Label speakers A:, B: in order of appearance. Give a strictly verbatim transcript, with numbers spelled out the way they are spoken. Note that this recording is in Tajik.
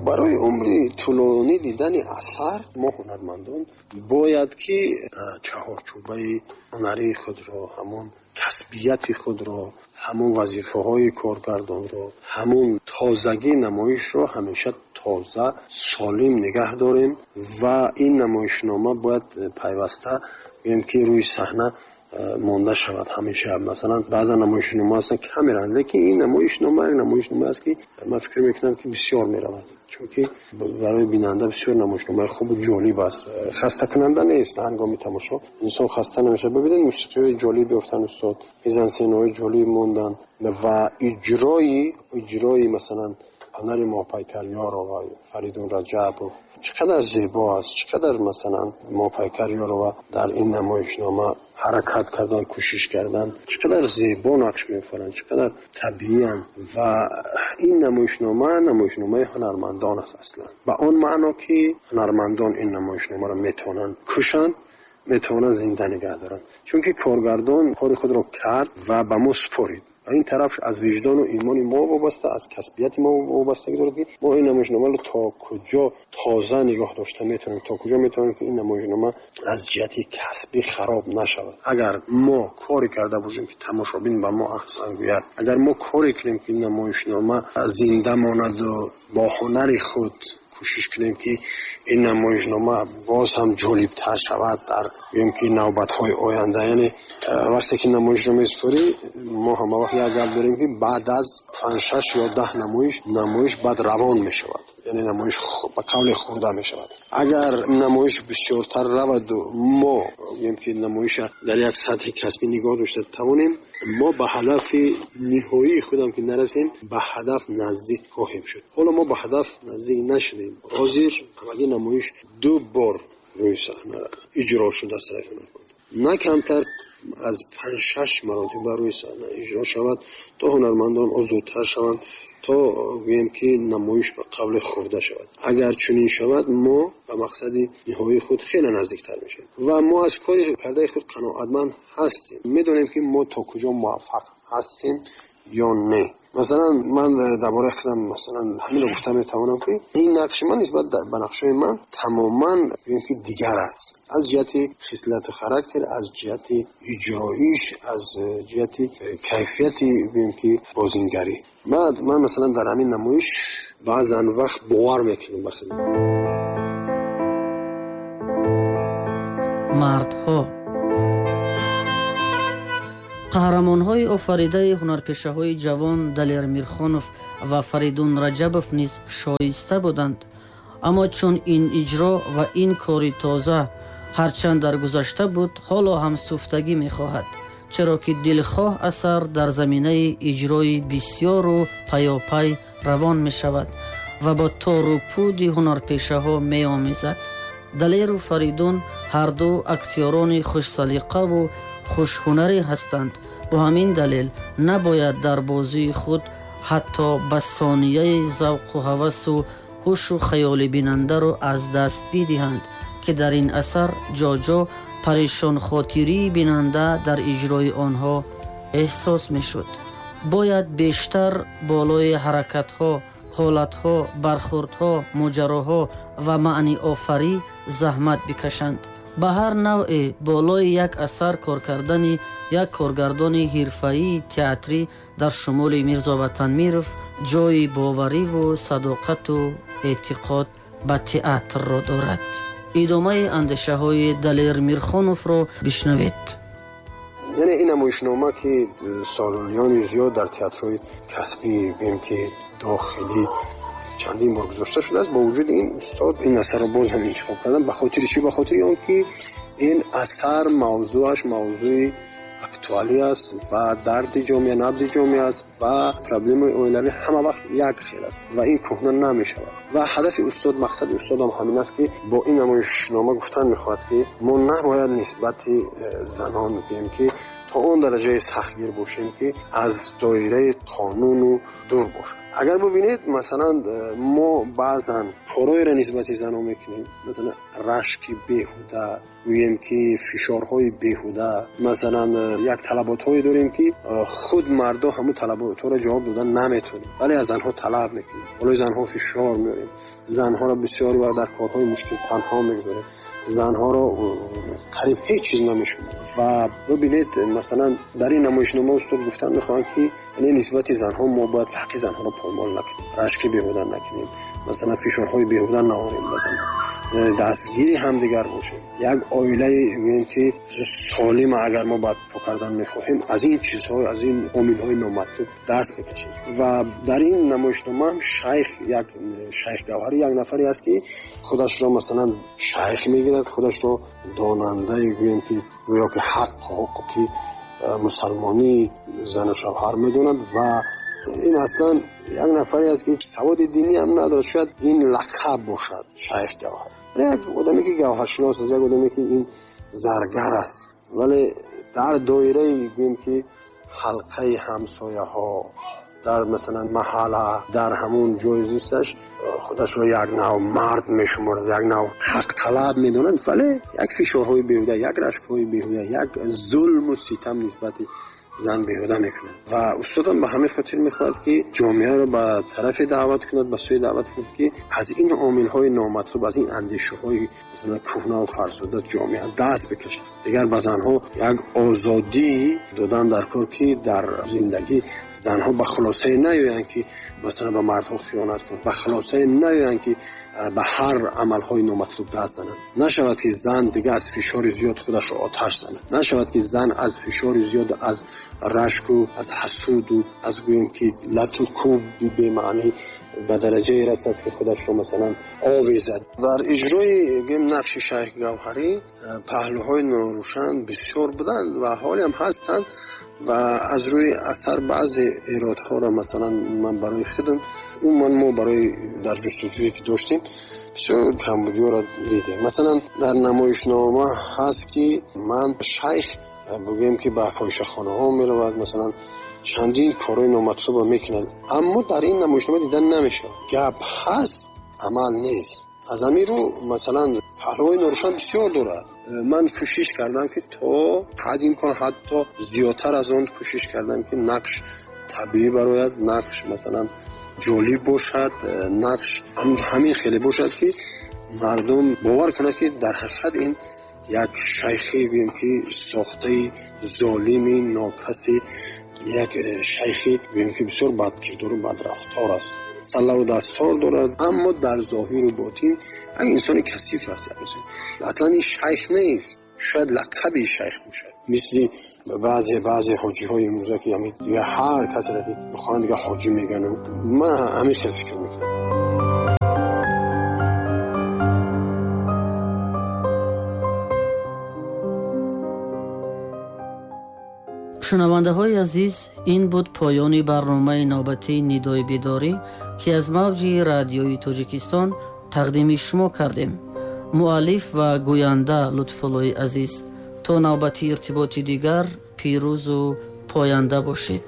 A: Барои умри тӯлонӣ дидани асар мо ҳунармандон бояд ки чаҳорчӯбаи ҳунарии худро, ҳамон касбияти худро, ҳамон вазифаҳои коргардонро, ҳамон тозагии намоишро ҳамеша тоза, солим нигоҳ дорем ва ин намоишнома бояд пайваста гӯем ки рӯи саҳна монда шавад ҳамеша. Масалан, баъзан намоишнома ҳастанд ки кам мераванд, лекин ин намоишнома як намоишнома аст ки ман фикр мекунам ки бисёр меравад, чунки барои бинанда бисёр намоишномаи хубу ҷолиб аст. Хастакунанда нест, ҳангоми тамошо инсон хаста намешавад. Бибинед, мусиқиҳои ҷолиб ёфтанд устод, мизансценаҳои ҷолиб монданд ва иҷрои иҷрои масалан ҳунари Моҳпайкар Ёрова, Фаридун Раҷабов чӣ қадар зебо аст, чӣ қадар масалан Моҳпайкар Ёрова дар ин намоишнома ҳаракат кардан, кӯшиш кардан, чӣ қадар зебо нақш меофаранд, чӣ қадар табииянд. Ва ин намоишнома намоишномаи ҳунармандон аст аслан, ба он маъно ки ҳунармандон ин намоишномаро метавонанд кушанд, метавонанд зинда нигоҳ доранд, чунки коргардон кори худро кард ва ба мо супорид. Ва ин тараф аз виҷдону имони мо вобаста, аз касбияти мо вобастагӣ дорад ки мо ин намоишномаро то куҷо тоза нигоҳ дошта метавонем, то куҷо метавонем ки ин намоишнома аз ҷиҳати касбӣ хароб нашавад. Агар мо коре карда бошем ки тамошобин ба мо аҳсан гӯяд, агар мо коре кунем ки намоишнома зинда монаду бо ҳунари худ кӯшиш кунем ки ин намоишнома боз ҳам ҷолибтар шавад дар гӯем ки навбатҳои оянда. Яъне вақте ки намоишро месупорӣ, мо ҳама вақт як гап дорем ки баъд аз панҷ, шаш ё даҳ намоиш, намоиш баъд равон мешавад, яъне намоиш ба қавле хӯрда мешавад. Агар намоиш бисёртар раваду мо гӯем ки намоиша дар як сатҳи касбӣ нигоҳ дошта тавонем, мо ба ҳадафи ниҳоии худам ки нарасем, ба ҳадаф наздик хоҳем шуд. Ҳоло мо ба ҳадаф наздик нашудем. Ҳозир ҳамагӣ намоиш ду бор рӯи саҳна иҷро шуда аз тарафи ҳунарманд, на камтар аз панҷ, шаш маротиба рӯи саҳна иҷро шавад то ҳунармандон озодтар шаванд, то гӯем ки намоиш ба қавле хӯрда шавад. Агар чунин шавад, мо ба мақсади ниҳоии худ хеле наздиктар мешавем ва мо аз кори кардаи худ қаноатманд ҳастем. Медонем ки мо то куҷо муваффақ ҳастем ё не. Масалан, ман дар бораи худам масалан ҳаминро гуфта метавонам ки ин нақши ман нисбат ба нақшҳои ман тамоман гӯем ки дигар аст, аз ҷиҳати хислату характер, аз ҷиҳати иҷроиш, аз ҷиҳати кайфияти гӯем ки бозингарӣ. Ман, ман масалан дар ҳамин намоиш баъзан вақт бовар мекунам ба худам.
B: Мардҳо қаҳрамонҳои офаридаи ҳунарпешаҳои ҷавон Далер Мирхонов ва Фаридун Раҷабов низ шоиста буданд. Аммо чун ин иҷро ва ин кори тоза ҳарчанд дар гузашта буд, ҳоло ҳам суфтагӣ мехоҳад, чаро ки дилхоҳ асар дар заминаи иҷрои бисёру паёпай равон мешавад ва бо тору пуди ҳунарпешаҳо меомезад. Далеру Фаридун ҳарду актёрони хушсалиқаву хушҳунарӣ ҳастанд. Бо ҳамин далел набояд дар бозии худ ҳатто ба сонияи завқу ҳавасу ҳушу хаёли бинандаро аз даст бидиҳанд, ки дар ин асар ҷо-ҷо парешонхотирии бинанда дар иҷрои онҳо эҳсос мешуд. Бояд бештар болои ҳаракатҳо, ҳолатҳо, бархӯрдҳо, моҷароҳо ва маъниофарӣ заҳмат бикашанд. Ба ҳар навъе болои як асар кор кардани як коргардони ҳирфаии театрӣ дар шумули Мирзо Ватанмиров ҷои бовариву садоқату эътиқод ба театрро дорад. Идомаи андешаҳои Далер Мирхоновро бишнавед.
A: Яъне ин намоишнома ки солониёни зиёд дар театрҳои касбӣ гӯем ки дохилӣ чандин бор гузошта шудааст, бо вуҷуди ин устод ин асарро боз ҳам интихоб карданд. Ба хотири чӣ? Ба хотири он ки ин асар мавзӯаш мавзӯи актуалӣ аст ва дарди ҷомеа, набзи ҷомеа аст ва проблемаи оилавӣ ҳама вақт як хел аст ва ин кӯҳна намешавад. Ва ҳадафи устод, мақсади устодам ҳамин аст ки бо ин намоишнома гуфтан мехоҳад ки мо набояд нисбати занон гӯем ки то он дараҷаи сахтгир бошем, ки аз доираи қонуну дур бошад. Агар бубинед, масалан, мо баъзан корҳоеро нисбати занҳо мекунем, масалан рашки беҳуда, гӯем ки фишорҳои беҳуда, масалан як талаботҳое дорем, ки худ мардо ҳамун талаботҳоро ҷавоб додан наметавонем, вале аз занҳо талаб мекунем, болои занҳо фишор меорем, занҳоро бисёр вақт дар корҳои мушкил танҳо мегузорем, занҳоро қариб ҳеҷ чиз намешуморем. Ва бубинед, масалан дар ин намоишнома устод гуфтан мехоҳанд, ки яъне нисбати занҳо мо бояд ҳаққи занҳоро поймол накунем, рашки беҳуда накунем, масалан фишорҳои беҳуда наорем ба занҳо, дастгири ҳамдигар бошем. Як оилае гӯем ки солима агар мо барпо кардан мехоҳем, аз ин чизҳо, аз ин омилҳои номатлуб даст бикашем. Ва дар ин намоишнома шайх, як шайх Гавҳарӣ як нафаре аст, ки худашро масалан шайх мегирад, худашро донандае гӯем ки гӯё ки ҳақ ҳуқуқи мусалмонии зану шавҳар медонад. Ва ин аслан як нафаре аст, ки саводи динӣ ҳам надорад, шояд ин лақаб бошад шайх Гавҳарӣ, як одаме ки гавҳаршинос аст, як одаме ки ин заргар аст, вале дар доираи гӯем ки ҳалқаи ҳамсояҳо, дар масалан маҳалла, дар ҳамон ҷои зисташ худашро як нав мард мешуморад, як нав ҳақталаб медонад, вале як фишорҳои беҳуда, як рашкҳои беҳуда, як зулму ситам нисбати зан беҳуда мекунад. Ва устодам ба ҳамин хотир мехоҳад, ки ҷомеаро ба тарафе даъват кунад, ба сӯи даъват кунад, ки аз ин омилҳои номатлуб, аз ин андешаҳои масалан кӯҳна ва фарсуда ҷомеа даст бикашад. Дигар ба занҳо як озодӣ додан дар кор, ки дар зиндагӣ занҳо ба хулосае наёянд, ки масалан ба мардҳо хиёнат кунанд, ба хулосае наёянд, ки ба ҳар амалҳои номатлуб даст зананд. Нашавад, ки зан дигар аз фишори зиёд худашро оташ занад, нашавад, ки зан аз фишори зиёд, аз рашку, аз ҳасуду, аз гӯем ки лату кӯби бемаънӣ ба дараҷае расад, ки худашро масалан овезад. Дар иҷрои гӯем нақши шайх Гавҳарӣ паҳлӯҳои норӯшан бисёр буданд ва ҳолиам ҳастанд. Ва аз рӯи асар баъзе эродҳоро масалан ман барои худам, умуман мо барои дар ҷустуҷӯе ки доштем, бисёр камбудиҳоро дидем. Масалан дар намоишнома ҳаст, ки ман шайх бигӯем ки ба фоҳишахонаҳо меравад, масалан чандин корҳои номатлубро мекунад, аммо дар ин намоишнома дидан намешавад. Гап ҳаст, амал нест. Аз ҳамин рӯ масалан паҳлӯҳои норӯшан бисёр дорад. Ман кӯшиш кардам, ки то ҳад имкон, ҳатто зиёдтар аз он кӯшиш кардам, ки нақш табиӣ барояд, нақш масалан ҷолиб бошад, нақш ҳамин хеле бошад, ки мардум бовар кунад, ки дар ҳақиқат ин як шайхе гӯем ки сохтаи золими нокаси, як шайхе гӯем ки бисёр бадкирдору бадрафтор аст, саллаву дастор дорад, аммо дар зоҳиру ботин як инсони касиф аст. Аслан ин шайх нест, шояд лақаби шайх бошад, мисли баъзе баъзе ҳоҷиҳои имрӯза, ки ҳамин дигар ҳар касеро ки бихоҳанд дигар ҳоҷӣ мегӯянд. Ман ҳамин хел фикр мекунам.
B: Шунавандаҳои азиз, ин буд поёни барномаи навбатии Нидои бедорӣ, ки аз мавҷи радиои Тоҷикистон тақдими шумо кардем. Муаллиф ва гӯянда Лутфуллои Азиз. То навбати иртиботи дигар пирӯзу поянда бошед.